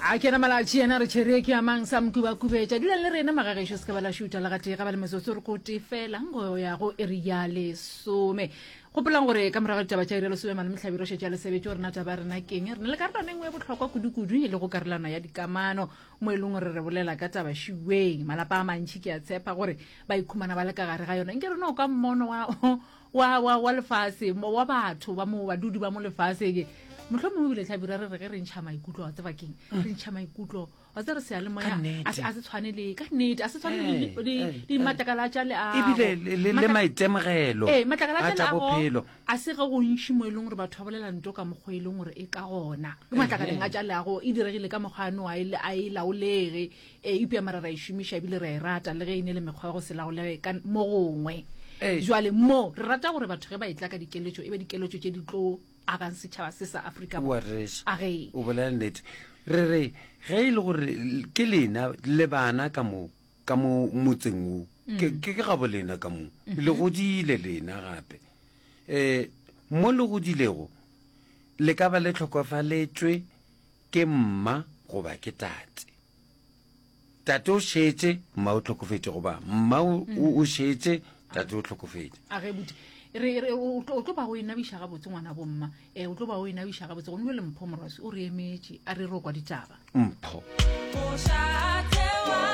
A ke yena Malatši yena re tšhere ke amang sa mokubakubetša. Dulang le rena magagešo se ka ba la šuta le gatee ga ba le metsotso re ko tee fela go ya go iri ya lesome. Gopolang gore ka morago ga ditaba tša iri ya lesome malome Hlabirwa šetše a le sebetše gore na taba ya rena keng. Re na le karolwana e nngwe e bohlokwa kudu-kudu e lego karolwana ya dikamano mo e leng gore re bolela ka taba šiweng. Malapa a mantši ke a tshepa gore ba ikhumana ba le ka gare ga yona. Nke re no ka mmono wa wa, wa, wa lefase, wa batho ba mo, badudi ba mo lefaseng. Mohlomongwe ebile Hlabirwa re re ge re ntšha maikutlo, wa tseba keng? Re ntšha maikutlo, wa tseba re seyalemoya a se, a se tshwane le, ka nnete, a se tshwane le, le, le dimatlakala tša leago. Ebile le, le, le maitemogelo Ee, matlakala a tša tša leago bophelo. a se ge gontši mo e leng gore batho ba bolela nto ka mokgwa e leng gore e ka gona. Ke matlakaleng a tša leago e diregile ka mokgwa ano a e, a e laolege. Ee, eupša mara ra e šomiša ebile re a e rata, le ge e ne le mekgwa ya go se laolege ka mo gongwe. Ee. Jwale mo, re rata gore batho ge ba etla ka dikeletšo, e be dikeletšo tše di tlo agang setšhaba se sa Afrika O a Borwa. rereša. A ge. O bolela nnete. Re re ge e le gore ke lena le bana ka mo, ka mo motseng wo, ke, ke, ke gabo lena ka mo. Le godile lena gape. Um mo le godilego, le ka ba le hlokofaletšwe ke mma goba ke tate. Tate o šetše, mma o hlokofetše goba mma o, o, o šetše, tate o hlokofetše. A ge buti re re o tlo o tlo ba o e nabiša gabotse ngwana bomma eh o tlo ba o e nabiša gabotse gomme le Mpho Morwasi o re emetše a re ro kwa ditaba. Mpho. Mošate wa.